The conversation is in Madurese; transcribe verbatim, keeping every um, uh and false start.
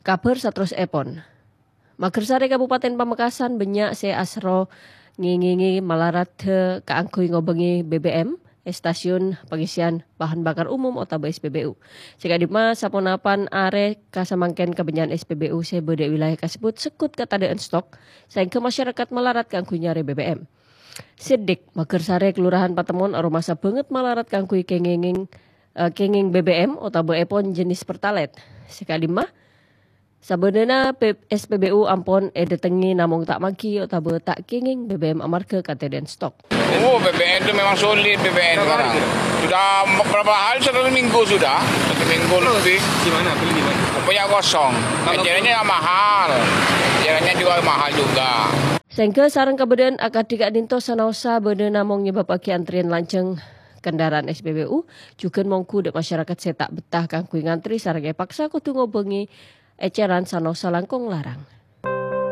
Kabhâr saterrossèpon. Magersari Kabupaten Pamekasan bânnya' sè asro ngèngèngè malaradhâ kaangghuy ngobângè B B M è stasiun pangèssèyan bahan bakar umum otabâ S P B U. Sè ka'dimma saponapan arè kasamangkèn kabânnya'an S P B U sè bâdâ è wilayah kasebbhut segghut katadâ'ân stok, saèngghâ masyarakat malarat kaangghuy nyarè B B M. Siddhik, Magersari Kelurahan Patemon aromasa bângèt malarat kaangghuy kèngèng, eh, kèngèng B B M otabâ èpon jenis Pertalite. Sè ka'dimma, sabâdâna P-, S P B U ampon èdâtengngè namong ta' maghi otabâ ta' kèngèng B B M amarghâ katadâ'ân stok. Oh, B B M itu memang sulit, B B M sekarang. Sudah berapa hari, satu minggu sudah, satu minggu lebih. Di mana? Beli di mana? Pokoknya kosong. Kalau ecerannya mahal, ecerannya juga mahal juga. Saèngghâ sareng kabâdâ'ân akadhi ka'dinto sanaossa bâdâ namong nyebâbbhâghi antrèyan lanjhâng kendaraan S P B U, jhughân mongghu dâ' masyarakat sè ta' bettah kaangghuy ngantri sareng èpaksa kodhu ngobângè eceran sanaossa langkong larang.